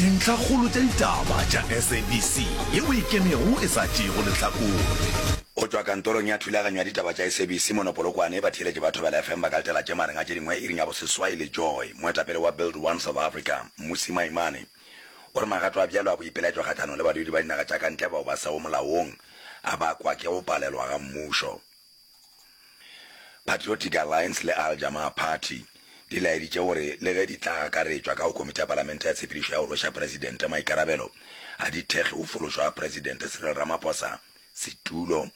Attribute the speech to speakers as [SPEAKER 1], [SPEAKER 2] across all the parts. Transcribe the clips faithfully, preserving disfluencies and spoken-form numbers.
[SPEAKER 1] Dintlhakgolo tša ditaba tša S A B C yeo e ikemego e sa tšeego lehlakore.
[SPEAKER 2] Go tšwa kantorong ya thulaganyo ya ditaba tša S A B C mono Polokwane, batheeletši ba Thobela F M ba ka letela tše magareng a tše dingwe iring ya boseswai le Joy. Moetapele wa Build One South Africa, Mmusi Maimane, o re magato a bjalo a boipelaetšo kgahlanong le badudi ba dinaga tša ka ntle bao ba sego molaong a bakwa ke go palelwa ga mmušo. Patriotic Alliance le Al Jamaa Party di laeditše gore le ge di tla akaretšwa ka go komiti ya palamente ya tshepedišo ya go rweša presidente maikarabelo, ga di thekge go fološwa ga Presidente Cyril Ramaphosa setulo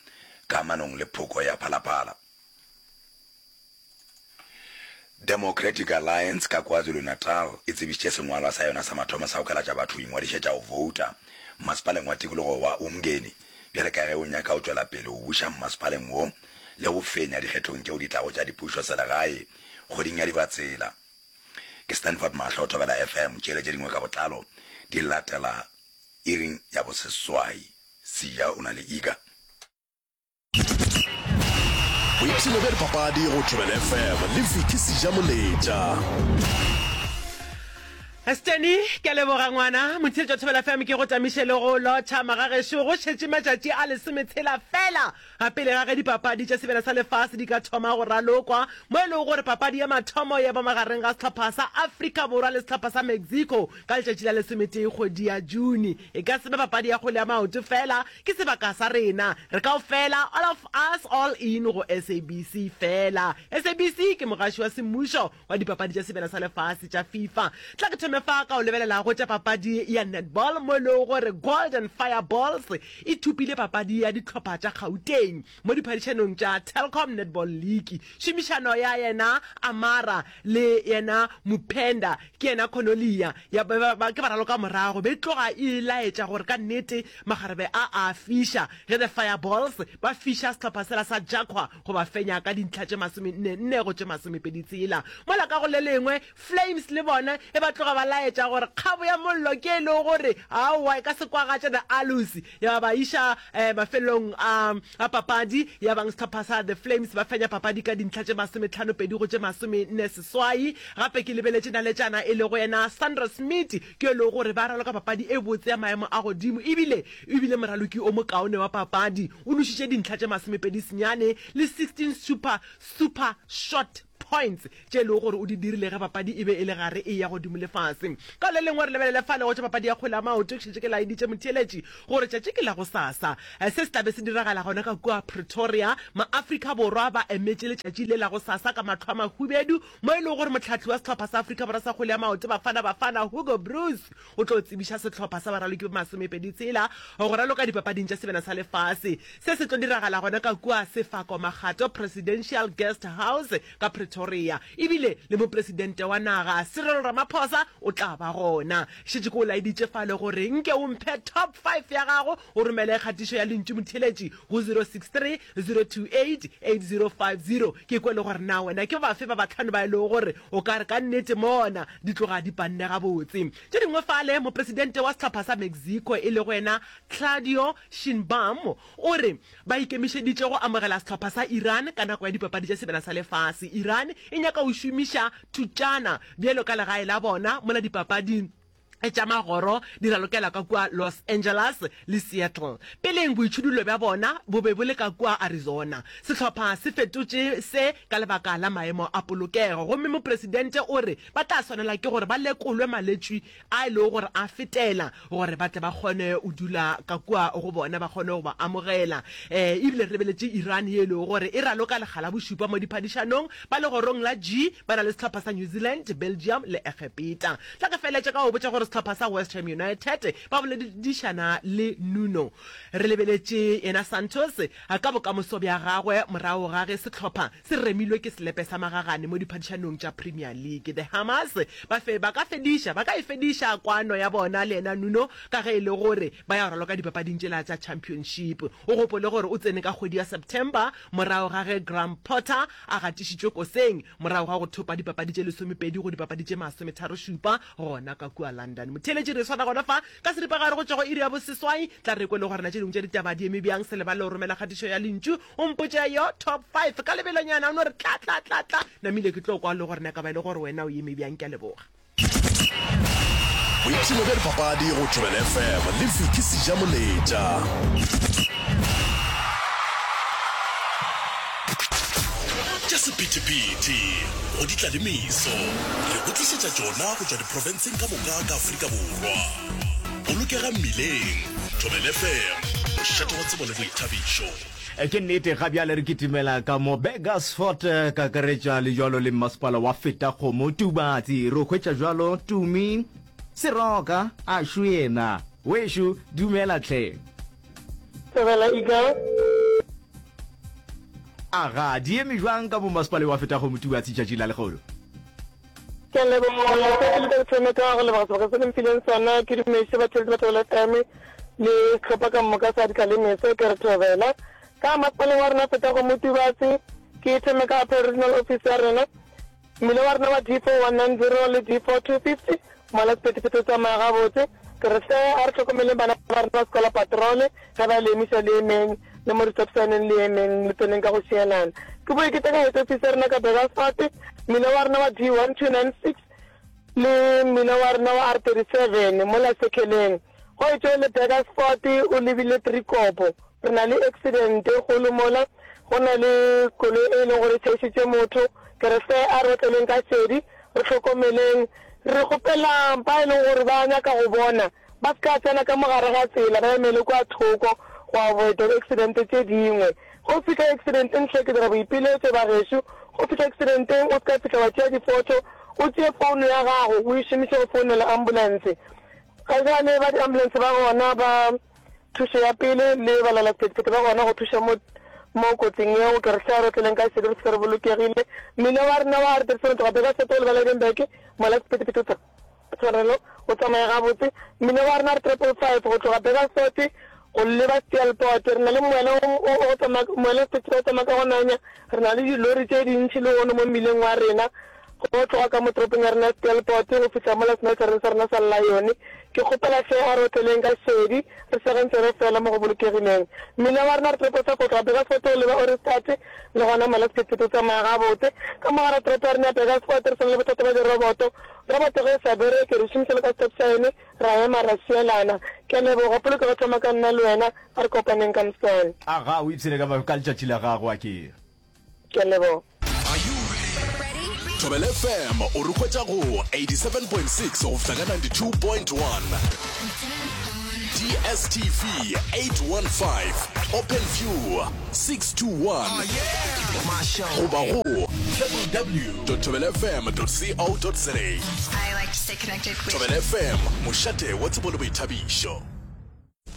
[SPEAKER 2] kamanong le phoko ya Phalaphala. Democratic Alliance ka KwaZulu-Natal e tsebišitše sengwalwa sa yona sa mathomo sa go kalatša batho go ingwadišetša go vouta mmasepaleng wa tikologo wa Umngeni bjale ka ge o nyaka go tšwela pele go buša mmasepaleng wo le go fenya dikgethong tšeo di tlago tša dipušo selegae kgweding ya Dibatsela. Ke Stanford Mahlo, Thobela F M, tšele tše dingwe ka botlalo di latela iring ya boseswai. Siya o na le Iga.
[SPEAKER 1] Boipshino bja dipapadi go Thobela F M le Vicky Sejamoletša.
[SPEAKER 3] Steny, ke a leboga ngwana. Motheetši wa Thobela F M, ke go tamiše le go lotšha magagešo. Go šetše matšatši a lesometshela fela ga pele ga ge dipapadi tša Sebjana sa Lefase di ka thoma go ralokwa, mo e lego gore papadi ya mathomo ya ba magareng ga sehlopha sa Afrika Borwa le sehlopha sa Mexico ka letšatši la lesometee kgwedi ya June. E ka se be papadi ya kgwele ya maoto fela, ke sebaka sa rena re kaofela, all of us, all in go S A B C fela. S A B C ke mogaši wa semmušo wa dipapadi tša Sebjana sa Lefase tša FIFA. Tla ke thome fa ka o lebelela go tša papadi ya netball, mo e lego gore Golden Fireballs e thopile papadi ya dihlopha tša Gauteng mo diphadišanong tša Telkom Netball League. Šomišano ya yena Amara le yena Mupenda ke yena Cornelia ya ba ba ke baraloka morago be tloga e laetša gore ka nnete makgarebe a a fiša ge the Fireballs ba fiša sehlopha sela sa Jaqua go ba fenya ka dintlha tše masomenne nne go tše masomepedi tshela. Mola ka go le lengwe Flames le bona e ba tloga ba laetša gore kgabo ya mollo ke e lego gore aowa e ka se kwagatše the Aloes ya ba ba iša eh, mafelong a a papadi ya bang sehlopha sa the Flames ba fenya papadi ka dintlha tše masometlhano pedi go tše masomenne seswai. Gape ke lebeletše naletšana e lego yena Sandra Smith, ke e lego gore ba raloka papadi e botse ya maemo a godimo, ebile ebile moraloki o mokaone wa papadi o nošitše dintlha tše masomepedi senyane le sixteen super super shot points tše e lego gore o di dirile ge papadi e be e le gare e ya godimo le fase. Ka le lengwe re lebelele fale go tša papadi ya kgwele ya maoto. Ke šetše ke laeditše motheeletši gore tšatši ke la go sasa se se tlabe se diragala gona ka kua Pretoria. Maafrika Borwa ba emetše letšatši le la go sasa ka mahlo a mahubedu, mo e lego gore mohlahli wa sehlopha sa Afrika Borwa sa kgwele ya maoto, Bafana Bafana, Hugo Broos, o tlo tsebiša sehlopha sa baraloki ba masomepedi tshela go raloka dipapading tša Sebjana sa Lefase. Se se tlo diragala gona ka kua Sefako Makgato Presidential Guest House ka Pretoria, ebile le mopresidente wa naga Cyril Ramaphosa o tla ba gona. Šetše ke o laeditše fale gore nke o mphe top five ya gago, o romele kgatišo ya lentšu motheeletši go zero six three zero two eight eight zero five zero, ke kwe le gore na wena ke bafe ba batlhano ba e lego gore o ka re ka nnete mona di tloga di panne gabotse. Tše dingwe fale, mopresidente wa sehlopha sa Mexico e lego yena Claudio Sheinbaum o re ba ikemišeditše go amogela sehlopha sa Iran ka nako ya dipapadi tša Sebjana sa Lefase. Iran e nyaka go šomiša Thutšana bjalo ka legae la bona mola dipapadi tša magoro di ralokela ka kua Los Angeles le Seattle. Peleng boitšhidullo bja bona bo be bo le ka kua Arizona. Sehlopha se fetotše se ka lebaka la maemo a polokego, gomme mopresidente o re ba tla swanela ke gore ba lekolwe malwetši a e lego gore a fetela gore ba tle ba kgone go dula ka kua go bona, ba kgone go ba amogela. um ebile re lebeletše Iran ye e lego gore e raloka lekga la bošupa mo diphadišanong. Ba legorong la G ba na le sehlopha sa New Zealand, Belgium le Egepeta. Tla ke feletše ka go botša gore sehlopha sa West Ham United ba boledišana le Nuno, re lebeletše yena Santos, ka bokamoso bja gagwe morago ga ge sehlopha se remilwe ke selepe sa magagane mo diphadišanong tša Premier League. The Hammers ba fe ba ka fediša ba ka e fediša kwano ya bona le yena Nuno ka ge e le gore ba ya go raloka dipapading tšela tša Championship. O gopole gore o tsene ka kgwedi ya September morago ga ge Graham Potter a gatišitšwe koseng morago ga go thopa dipapadi tše lesomepedi go dipapadi tše masometharo šupa gona ka kua London. Motheeletši, re swana gona fa ka seripagare go tšwa go iri ya boseswai. Tla re kwe le gore na tše dingwe tša ditaba di eme bjang. Se lebale go romela kgatišo ya lentšu, o mpotše yo top five ka lebelonyana, o no re tla tla tla tla namile, ke tlo kwa le gore na ka ba e le gore wena o eme bjang. Ke a leboga.
[SPEAKER 1] Boipshino bja dipapadi go Thobela F M le Vicky Sejamoletša. Tša sephethephethe go di tla le meso, re go tlišetša tšona go tšwa diprofenseng ka moka ka Afrika Borwa. Bolokega mmileng, Thobela F M, mošate wa tsebo le boithabišo.
[SPEAKER 4] Ke nnete, ga bjale re kitimela ka mo Burgersfort, kakaretša le jwalo le mmasepala wa Fetakgomo, Tubatse. Re hwetša jwalo Tumi Seroka, a šo yena. Wešo, dumela hle.
[SPEAKER 5] Thobela Eagle.
[SPEAKER 4] Aga, di eme jwang ka mo mmasepaleng wa Fetakgomo, Tubatse tšatši la lekgono?
[SPEAKER 5] Ke a leboga. Sa pele ka thome ka go leboga sebaka se le mphileng sona. Ke dumediše batheeletši ba Thobela F M le sehlopha ka moka sa Ditlalemeso. Ke re thobela. Ka masepaleng wa rena Fetakgomo Tubatse, ke thome ka Upper Regional Office ya rena. Mmila wa rena wa D four one nine zero le D four two fifty, mola sephethephethe o tsamaya gabotse. Ke re hle a re hlokomeleng bana ba rena ba sekola patrole, ge ba le emiša le emeng, le mo di-stop sign-eng le emeng, le tseneng ka go šielana. Ke boe ke tle ka head office ya rena ka Burgersfort, mmila wa rena wa D one two nine six le mmila wa rena wa R thirty seven mola Sekheleng. Go etšwe le Burgersfort o lebile Driekopo, re na le accident e kgolo mola, go na le koloi e leng gore e tšhaišitše motho. Ke re hle a re otleleng ka šedi, re hlokomeleng. Re kgopela ba e leng gore ba nyaka go bona ba se ka tsena ka mo gare ga tsela, ba emele kua thoko go avoida di-accident tše dingwe. Go fihla accidenteng hle ke dira boipiletšo bagešo, go fihla accidenteng o se ka fihla wa tšea difoto, o tšee founu ya gago o e šomiše go founela ambulance. Ga bjale ba di-ambulance ba gona ba thušo ya pele le balalasephethephethe ba gona go thuša mo mo kotsing yeo. Ke re hle a re otleleng ka šedi re fihle re bolokegile. Mmila wa rena wa R thirty seven tloga Burgersfort go leba Lydenburg, mola sephethephethe o tsa tshwarelo o tsamaya gabotse. Mmila wa rena R triple five go tloga Burgersfort go leba Steelpoort, re na le moela o o tsamaya moela sephethephethe o tsamaya ka go nanya. Re na le dilori tše dintši lehono mo mmileng wa rena go tloga ka mo toropong ya rena ya Steelpoort go fihla mola smeltereng sa rena sa Lion. Ke kgopela hle a re otleleng ka šedi, re segeng tsebe fela mo go bolokegileng. Mmila wa rena R triple five go tloga Burgersfort go leba Ohrigstad, le gona mola sephethephethe o tsamaya gabotse. Ka mo gare ga toropo ya rena ya Burgersfort re sa na le bothata bja diroboto. Roboto ge e sa bereke re šomiša le ka stop sign, ra ema ra šielana. Ke a leboga, polokego thoma ka nna le wena, a re kopaneng ka moswane.
[SPEAKER 4] Aga, o ipshine ka ka letšatši la gago, a ke.
[SPEAKER 5] Ke a leboga.
[SPEAKER 1] Are you ready? Thobela F M o re hwetša go eighty-seven point six go fihla ka ninety-two point one. D S T V eight one five, Open View six two one goba go w w w dot thobelafm dot co dot za.
[SPEAKER 6] I like to stay connected with
[SPEAKER 1] Thobela F M, mošate wa tsebo le boithabišo.